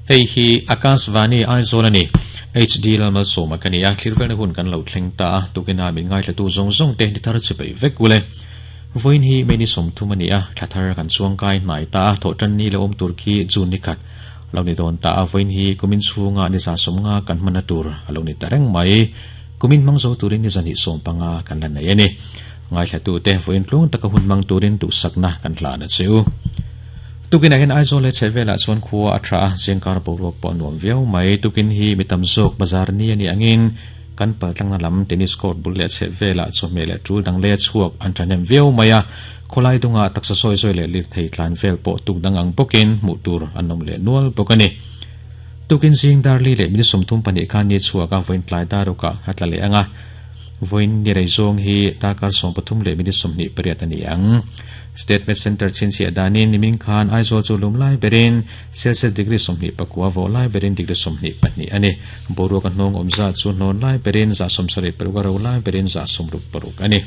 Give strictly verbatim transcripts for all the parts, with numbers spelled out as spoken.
Hei hi Akashvani Aizawl ani H D Lalmalsawma ka ni a, thlirvelna hun kan lo thleng ta a, tukina min ngaithlatu zawng zawng te ni thar chi peih vek ule. Vawiin hi May ni sawmthum a ni a, thla thar kan chuangkai hnai ta a, thawhtan ni lo awm tur khi June ni khat lo ni dawn ta a, vawiin hi kumin chhunga ni za sawmnga kan hmanna tur a lo ni ta reng mai. Kumin hmang zo turin ni zahnih sawm panga kan la nei a ni. Ngaithlatu te vawiin tlung taka hun hmang turin duhsakna kan hlan a che u. Tukinah hian Aizawl leh chhehvelah chuan khua a tha a, zingkar boruak pawh a nuam viau mai. Tukin hi mi tam zawk bazar ni a nih angin kan paltlangna lam tennis court bul leh chhehvelah chawhmeh leh tul dang leh chhuak an thahnem viau mai a. Khawlai dungah taksa sawi sawi leh lirthei tlan vel pawh tuk dang ang bawkin hmuh tur an awm leh nual bawk a ni. Tukin zing darli leh minute sawmthum pahnih khan ni chhuak a, vawiin tlai darukah a tla leh ang a. Vawiin ni rei zawng hi darkar sawm pathum leh minute sawmhnih pariat a ni ang. State Med Centre chhinchhiah danin nimin khan Aizawl chu lum lai berin Celsius degree sawmhnih pakua vawh lai berin degree sawmhnih pahnih a ni. Boruak a hnawng awm zat chu hnawn lai berin za sawmsarih paruk a ro lai berin za sawmruk paruk a ni.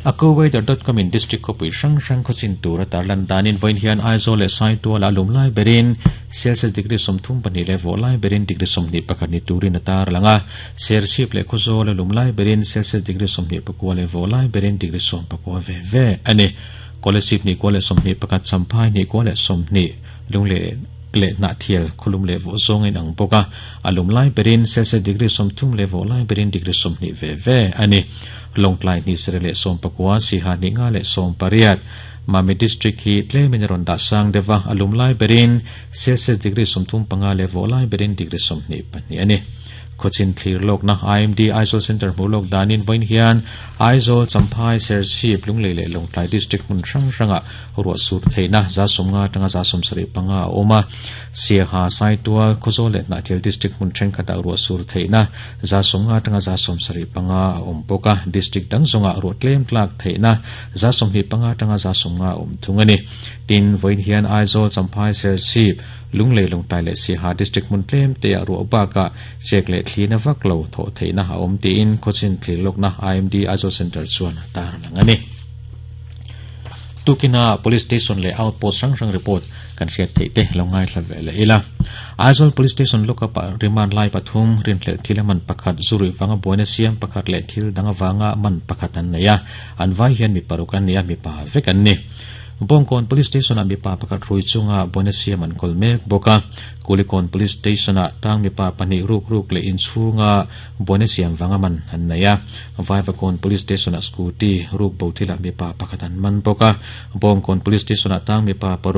Accuweather dot com in district khawpui hrang hrang khawchin tur a tarlan danin vawiin hian Aizawl leh Saituala lum lai berin Celsius degree sawmthum pahnih leh vawh lai berin degree sawmhnih pakhat ni turin a tarlang a. Serchhip leh Khawzawl a lum lai berin Celsius degree sawmhnih pakua leh vawh lai berin degree sawm pakua ve ve a ni. Kolasib hnih kua leh sawmhnih pakhat, Champhai hnih kua leh sawmhnih, Lungleh leh Hnahthial khawlum leh vawh zawng a inang bawk a. A lum lai berin Celsius degree sawmthum leh vawh lai berin degree sawmhnih ve ve a ni. Lawngtlai hnih sarih leh sawm pakua, Siha hnih nga leh sawm pariat, Mami District hi tlemin a rawn dah sang deuh a, a lum lai berin Celsius degree sawmthum panga leh vawh lai berin degree sawmhnih pahnih a ni. Khawchin thlir lawkna I M D Aizawl Centre hmuh lawk danin vawiin hian Aizawl, Champhai, Serchhip, Lunglei leh Lawngtlai District hmun hrang hrangah ruah sur theihna za sawmnga atanga za sawmsarih panga a awm a. Siaha, Saitual, Khawzawl leh Hnahthial District hmun thenkhatah ruah sur theihna za sawmnga atanga za sawmsarih panga a awm bawk a. District dang zawngah ruah tlem tlak theihna za sawmhnih panga atanga za sawmnga a awm thung a ni. Tin, vawiin hian Aizawl, Champhai, Serchhip, Lunglei Lawngtlai leh Siaha District hmun tlem te ah ruah bakah chek leh thlina vak lo thawh theihna a awm tiin khawchin thlir lawkna I M D Aizawl Centre chuan a tarlang a ni. Tukina Police Station leh Outpost hrang hrang report kan hriat theih te lo ngaithla ve leh ila. Aizawl Police Station lookup ah remand lai pathum rinhlelh thil a man pakhat zurui vanga buaina siam pakhat leh thil dang avanga man pakhat an nei a. An vai hian mi paruk an ni a, mipa vek an ni. Bawngkawn Police Station ah mipa pakhat rui chunga buaina siam an kawl mek bawk a. Kulikawn Police Station ah tang mipa pahnih ruk ruk leh inchhunga buaina siam vanga man an nei a. Vaivakawn Police Station ah scooty ruk bo thilah mipa pakhat an man bawk a. Bawngkawn Police Station ah tang mipa paruk